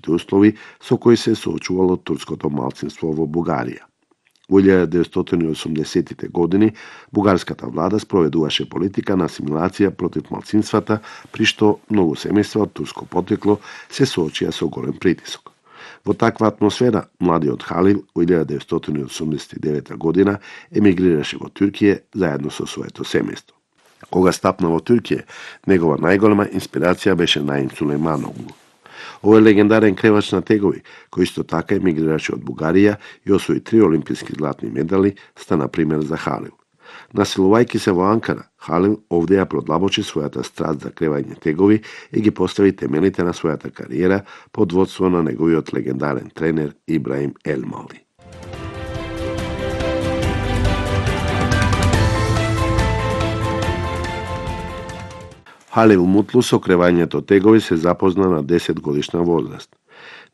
услови со кои се соочувало турското малцинство во Бугарија. Во 1980-тите години бугарската влада спроведуваше политика на асимилација против малцинствата, при што многу семејства од турско потекло се соочија со голем притисок. Во таква атмосфера, младиот Халил во 1989 година емигрираше во Турција заедно со своето семејство. Кога стапна во Турција, негова најголема инспирација беше Наим Сулејмановглу. Овој легендарен кревач на тегови, кој исто така емигрираше од Бугарија и освои 3 олимписки златни медали, стана пример за Халил. Населувајќи се во Анкара, Халил овде ја продлабочи својата страст за кревање тегови и ги постави темелите на својата кариера под водство на неговиот легендарен тренер Ибраим Елмали. Халил Мутлу со кревањето тегови се запозна на 10 годишна возраст.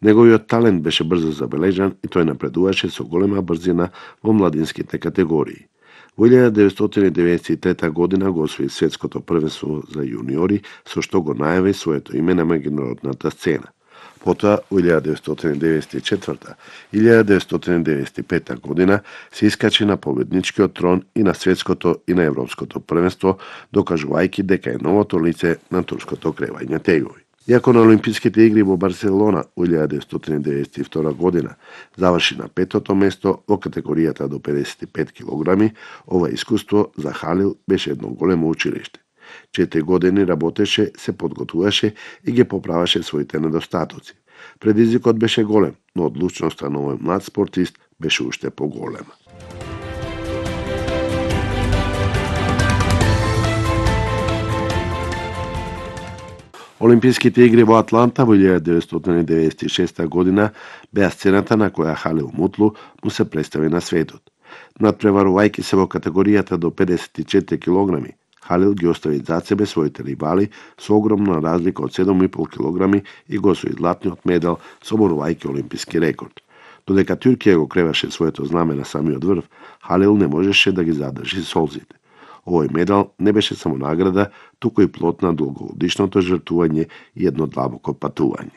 Неговиот талент беше брзо забележан и тој напредуваше со голема брзина во младинските категории. Во 1993 година го освои светското првенство за јуниори, со што го најави своето име на меѓународната сцена. Потоа, во 1994 и 1995 година се искачи на победничкиот трон и на светското и на европското првенство, докажувајќи дека е новото лице на турското кревање тегови. Иако на Олимписките игри во Барселона во 1992 година заврши на 5-то место во категоријата до 55 килограми, ова искуство за Халил беше едно големо училиште. 4 години работеше, се подготвуваше и ги поправаше своите недостатоци. Предизвикот беше голем, но одлучноста на овој млад спортист беше уште поголема. Олимписките игри во Атланта во 1996 година беа сцената на која Халил Мутлу му се представи на светот. Надпреварувајќи се во категоријата до 54 килограми, Халил ги остави зад себе своите ривали со огромна разлика од 7,5 килограми и го освои златниот медал, соборувајќи олимписки рекорд. Додека Турција го креваше своето знаме на самиот врв, Халил не можеше да ги задржи солзите. Овој медал не беше само награда, туку и плод на долгогодишното жртвување и едно длабоко патување.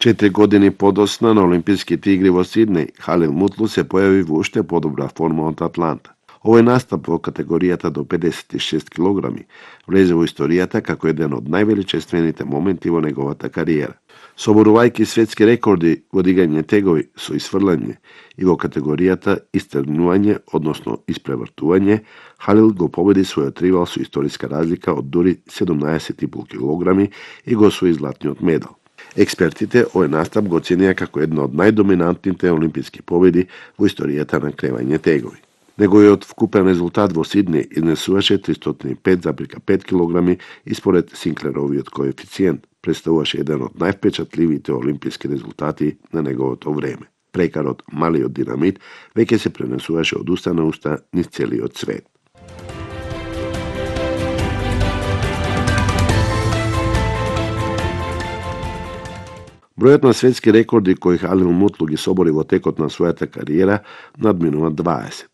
Четири години подосна на Олимписките игри во Сиднеј, Халил Мутлу се појави во уште подобра форма од Атланта. Овој настап во категоријата до 56 килограми влезе во историјата како еден од највеличествените моменти во неговата кариера. Соборувајќи светски рекорди во дигање тегови со исфрлање и во категоријата истргнување, односно испревртување, Халил го победи својот ривал со историска разлика од дури 17,5 килограми и го освои златниот медал. Експертите овој настап го оценија како една од најдоминантните олимписки победи во историјата на кревање тегови. Неговиот вкупен резултат во Сиднеј изнесуваше 305,5 килограми и според Синклеровиот коефициент представуваше еден од највпечатливите олимписки резултати на неговото време. Прекарот малиот динамит веќе се пренесуваше од уста на уста низ целиот свет. Бројот на светски рекорди кои Халил Мутлу ги собори во текот на својата кариера надминува 20.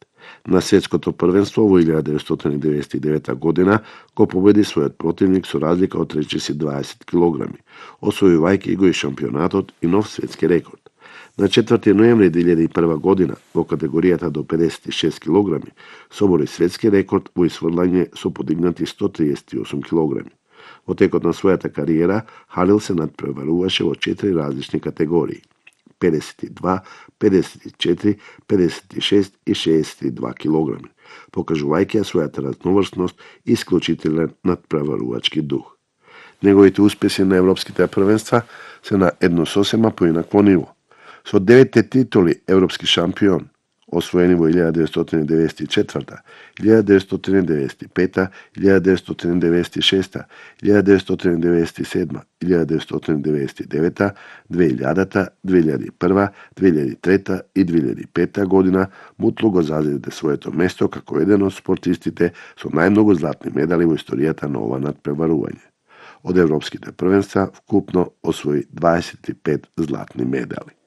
На светското првенство во 1999 година го победи својот противник со разлика од речиси 20 килограми, освојувајќи го и шампионатот и нов светски рекорд. На 4 ноември 2001 година во категоријата до 56 килограми собори светски рекорд во исфрлање со подигнати 138 килограми. Во текот на својата кариера Халил се надпреваруваше во 4 различни категории: 52, 54, 56 и 62 килограми, покажувајќи својата разноврсност и исклучителен надпреварувачки дух. Неговите успеси на европските првенства се на едно сосема поинакво ниво. Со 9 титули европски шампион, освоени во 1994, 1995, 1996, 1997, 1999, 2000, 2001, 2003 и 2005 година, Мутлу го зазеде своето место како еден од спортистите со најмногу златни медали во историјата на ова надпреварување. Од европските првенства вкупно освои 25 златни медали.